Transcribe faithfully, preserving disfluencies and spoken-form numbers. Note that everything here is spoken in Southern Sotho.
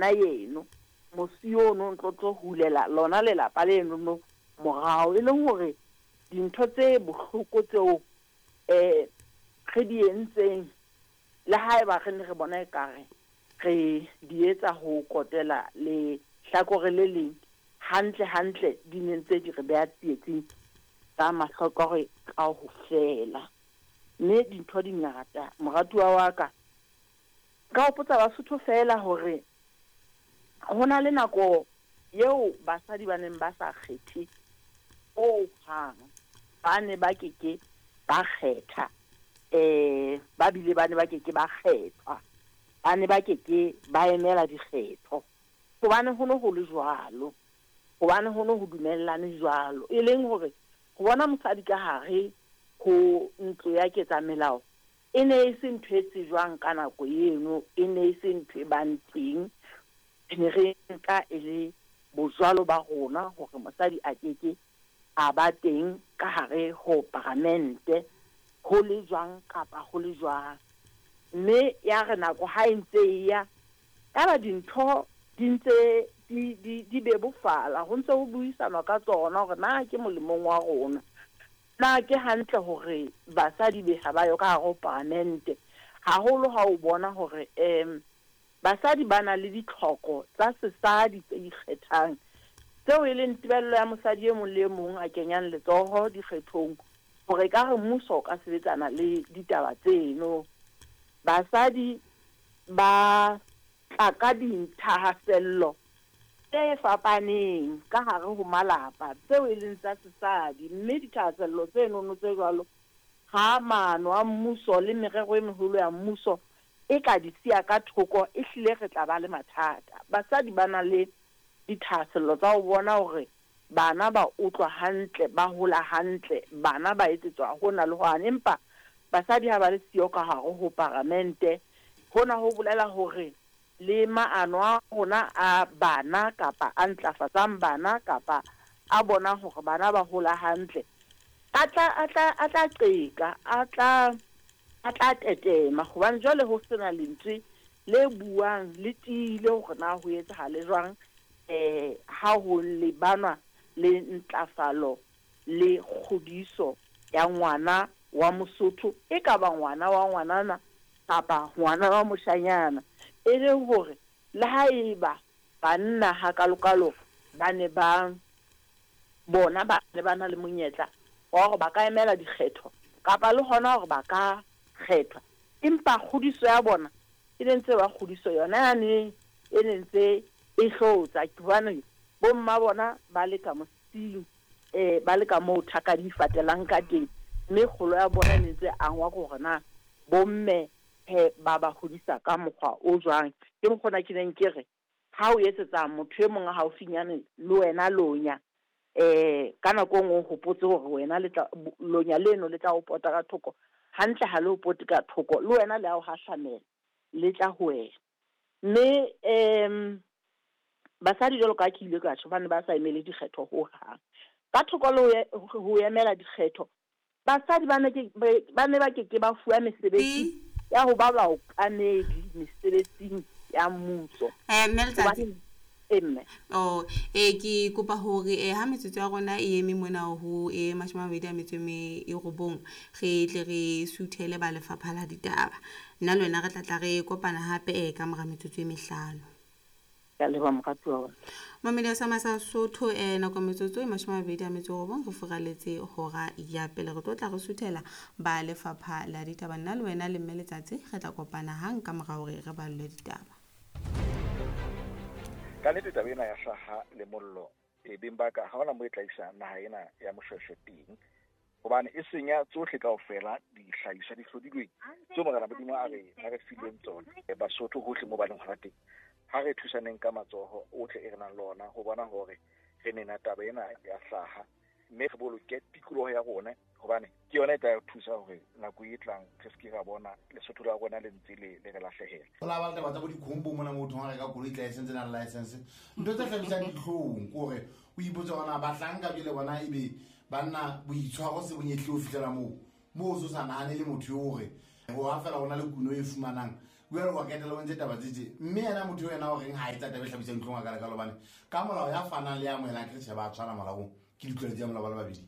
Wena yeno mosi ono ntlo tlo hulela lona lelapa leno no morao, e leng hore dintho tse bohloko tseo eh re di entseng le haeba re ne re bona ekare re di etsa ho kotela le hlakore le leng, hantle hantle di ne ntse di re beha tsietsing ka mahlokore ka ho fela. Mme dintho di ngata moratuwa wa ka. Ka hopotsa Basotho feela hore ho na le nako eo basadi ba neng ba sa kgethe ho hang, ba ne ba keke ba kgetha, eh ba bile ba ne ba keke ba kgethwa, ba ne ba keke ba emela dikgetho, hobane ho no ho le jwalo, hobane ho no ho dumellane jwalo. E leng hore ho bona mosadi ka hare ho ntlo ya ketsamelao e ne e se ntho e tsejwang ka nako eno, e ne e se ntho e bang teng. Re ne re nka e le bojwalo ba rona hore mosadi a keke a ba teng ka hare ho paramente, ho le jwang kapa ho le jwang. Mme ya re nako ha e ntse e ya, yaba dintho di ntse di di di bebofala, ho ntse ho buisanwa ka tsona hore na ke molemong wa rona, na ke hantle hore basadi be ha ba yo ka hare ho paramente. Haholo ha o bona hore em basadi ba na le ditlhoko tsa sesadi tse ikgethang, tseo e leng tebello ya mosadi e mong le e mong a kenyang letsoho dikgethong hore ka re mmuso o ka sebetsana le ditaba tseno. Basadi ba tla ka dithahasello tse fapaneng ka hare ho malapa tseo e leng tsa sesadi, mme dithahasello tsenono tse jwalo ha maano a mmuso le merero e meholo ya mmuso e ka di siya ka thoko, e hlile re tla ba le mathata. Basadi ba na le dithahasello tsa ho bona hore bana ba utlwa hantle, ba hola hantle, bana ba etsetswa hona le hwane, empa basadi ha ba le siyo ka hare ho paramente. Hona ho bolela hore le maano a rona a bana kapa a ntlafatsang bana kapa a bona hore bana ba hola hantle, a tla a tla a tla qeka, a tla a tla tetema, hobane jwale ho sena lentswe le buang le tiile hore na ho etsahale jwang eh ha ho lebanwa le ntlafalo le kgodiso ya ngwana wa Mosotho, e ka ba ngwana wa ngwanana kapa ngwana wa moshanyana. E le hore le haeba banna hakalokalo ba ne ba bona ba ne ba na le monyetla wa hore ba ka emela dikgetho kapa le hona hore ba ka kgethwa, empa kgodiso ya bona e ne ntse ba kgodiso yona yane e ne ntse e hlotsa, hobane bomma bona ba le ka mosing, eh ba le ka moo thaka di fatelang ka teng, mme kgolo ya bona e ne ntse angwa hore na bomme he ba ba hodisa ka mokgwa o jwang. Ke mokgona ke neng ke re ha o etsetsa motho e mong a haufinyane le wena lonya, eh ka nako e nngwe o hopotse hore wena le tla lonya leno le tla o pota ka thoko, hantle ha le o pote ka thoko, le wena le a o hahlamela, le tla ho wena. Mme em basadi jwalo ka ke ile ka tjho, ba ne ba sa emele dikgetho ho hang. Ka thoko le ho emela dikgetho, basadi ba ne ke ba ne ba keke ba fuwa mesebetsi ya ho ba baokamedi mesebetsing ya mmuso. Eh mme Letsatsi, emme oh eh ke kopa hore eh ha metsotso ya rona e eme mona ho e mashome a mabedi a metso e robong, re tle re suthele ba lefapha la ditaba. Nna le wena re tla tla re kopana hape eh ka mora metsotso e mehlano. Ka leboha moratuwa wa ka. Mamedi sa Masa Sotho eh nako metsotso e mashome a mabedi a metso e robong re furaletse hora ya pele, re tlo tla re suthela ba lefapha la ditaba. Nna le wena le mme Letsatsi re tla kopana hang ka mora hore re ballwe ditaba. Ka nnete taba ena ya hlaha le mollo e beng ba ka ha hona mo e tla isa naha ena ya Moshweshwe teng, hobane e senya tsohle kaofela dihlahiswa di hlodilweng tseo Morena Modimo a re a re fileng tsona. Basotho hohle mo ba leng hona teng, ha re thusaneng ka matsoho ohle e re nang le ona ho bona hore re nena taba ena ya hlaha, mme re boloke tikoloho ya rona, hobane ke yona e tla re thusa hore nako e tlang re se ke ra bona Lesotho la rona le ntse le le re lahlehela. Ho la ba le taba tsa bo dikhombo mona motho ha reka koloi tla e sentse na le license, ntho tse hlabisang dihlong ke hore o ipotse hore na bahlanka jwale bona ebe banna boitshwaro se bonyehle ho fihlela moo moo o so sa nahane le motho eo hore ho ha fela hona le kuno e fumanang Jwale wa ketela o ntse taba tse tje. Mme yena motho yena o reng ha etsa taba e hlabisang dihlong a ka leka hobane ka molao ya fanang le ya amohelang ke tjhe ba tshwana molaong ke ditlolo tsa molao ba le babedi.